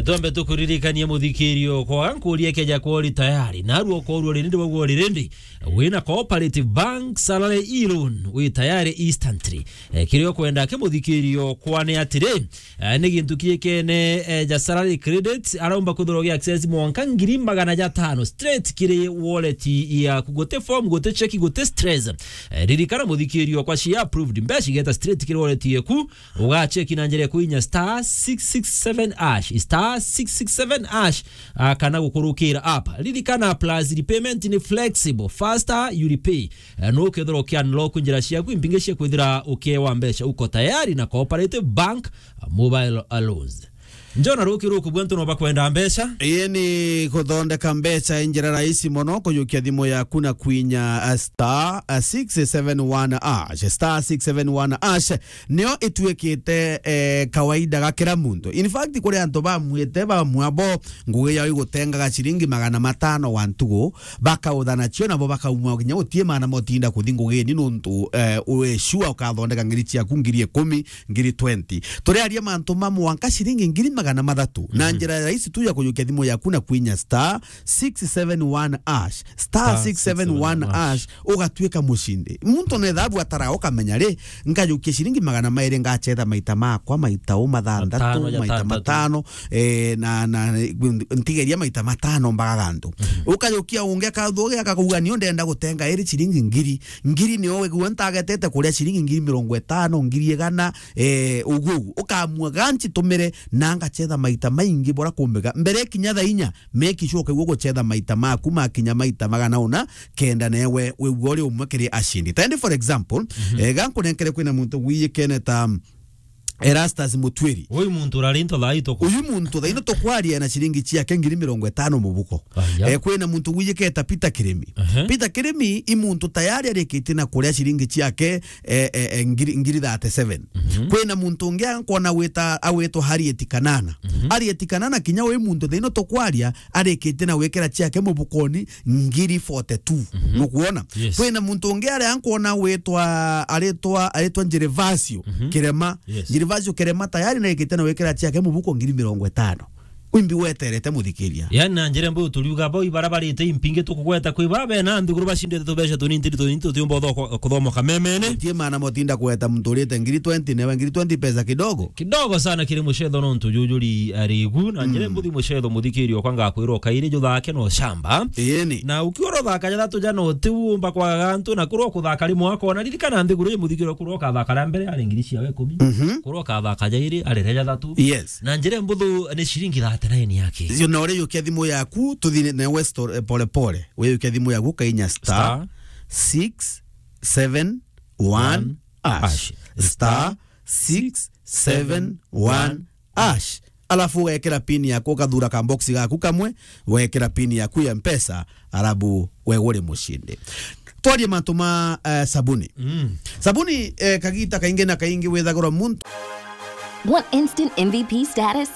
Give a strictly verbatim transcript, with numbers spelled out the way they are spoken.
Twambe tukuririkanie muthikirio, kwaga nkuria keja kwori tayari, narua ukorua rindi wagua uri rindi, wina Cooperative Bank salary e-loan, wi tayari instantly. Eh, kiria ukwenda kimuthikirio kwane atiri, eh, ni gintu kiekene, eh, ja salary credit, araumba kwithirwa gi access mwanka ngiri magana jatano straight kiri wallet yaku, guti form, guti cheki, guti stress. Eh, ririkana muthikirio kwa cia approved, mbeca igeta straight kiri wallet yaku, ugacheki na njira ya kuinya star six six seven hash, star six six seven hash, ah, kana gukurukira app. Ririkana, plus repayment ni flexible, faster you repay. Eh, no ukethirwa uki unlock njira ciaku impingi cia kwithira ukiewa mbeca. Uko tayari na Cooperative Bank, ah, mobile loans. Njona ruki ruku bwentu no bakwenda mbeca? Ii ni kuthondeka mbeca i njira rahisi mono, kujukia thimu yaku na kwinya, ah, star, ah, six seven one hash, star six seven one hash. Nio ituikite, eh, kawaida ga kira muntu. In fact, kuri antu bamwite, bamwe abo ngugi yao igutengaga ciringi magana matano wa ntugu, bakauthana cio nabo bakaumwa kinya gutie maana motinda kuthi ngugini nuntu, eh, wi sure ukathondeka ngiri ciaku ngiri ikumi, ngiri twenty. Turiaria mantu ma mwanka ciringi ngiri magana mathatu. Na Mhm. njira rahisi tu ya kujukia thimu yaku na kwinya star six seven one hash. Star six seven one hash, ugatuika mucindi. Muntu nethabu atara ukamenya ri, nkajukia ciringi magana mairi ngachetha maita makwa, maita u mathanthatu, Matano, maita jatantatu. matano, eh, na, na, ntigeria maita matano mbaga gantu. Mhm. Ukajukia ungi akathugia akakauga, "Nio ndenda gutenga iri ciringi ngiri." Ngiri nio wigua ntagetete kuria ciringi ngiri mirongo itano, ngiri igana, eh, uguo uguo. Ukamua ganchi tumire na ngachetha maita maingi bora kumbega. Mbere kinya thaa inya, make sure ukaigua guchetha maita maku makinya maita magana una, kenda newe wigua uri umwe kiri acindi. Tendi, for example, Mhm. eh, gankunenkere kwina muntu gwiyikene ta Erastus Mutwiri. Uyu muntu urari into thaa ito ku- Uyu muntu thaa ino tukwaria na ciringi ciake ngiri mirongo itano mubuko. Aya. Eh, kwina muntu gwiyiketa Peter Kirimi. Ehe. Peter Kirimi i muntu tayari arikitie na kuria ciringi ciake, eh, eh, eh, ngiri, ngiri thirty-seven. Mhm. Kwina muntu ungi ankona wita, awitwa Harriet Kanana. Mhm. Harriet Kanana kinya wi muntu thaa ino tukwaria, arikitie na gwikira ciake mubukoni ngiri forty-two. Mhm. Nukwona? Yes. Kwina muntu ungi aria nkwona witwa, aritwa, aritwa Gervasio Mhm. Kirema. Yes. Gervasio Kirema tayari na arikitie na gwikira ciake mubuko ngiri mirongo itano. Wimbi weterete muthikiria. Yani na njira mbu turiuga bo ibara barite impingi tukugweta kwi babe na nthiguru bacindite tubeca tunini tiri tunini tutiumba utho-, kuthomoka memene. Tie maana motinda kweta muntu urite ngiri twenty, newe ngiri twenty pesa kidogo. Kidogo sana kiri mucetho nontu jujuri arigu, na njire Mm. mbuthi mucetho muthikirio kwa ngakwirwo kairi juthake no shamba. Iyeni. Na ukiura uthaka jathatu jana utiumba kwaga gantu, na kurwa kuthaka rimwe akona, ririkana nthiguru i muthikirio kurwa ukathaka ria mbere ari ngiri cia ikumi. Mhm. Kurwa ukathaka jairi ari ria jathatu. Yes. Na njire mbuthu ni ciringi thirty-nine yake. Cio na uri yukia thimu yaku, tuthine na Western, eh, pole pole. We yukia thimu yaku, kainya star Star. six seven one hash. Hash. Star six seven one hash. Alafu ugekira pin yaku, ukathura ka box gaku kamwe, ugekira pin yaku ya Mpesa, alafu we uri mucindi. Twarie mantu ma, eh, sabuni. Mm. Sabuni, eh, kagita kaingi na kaingi withagirwa muntu. Want instant M V P status?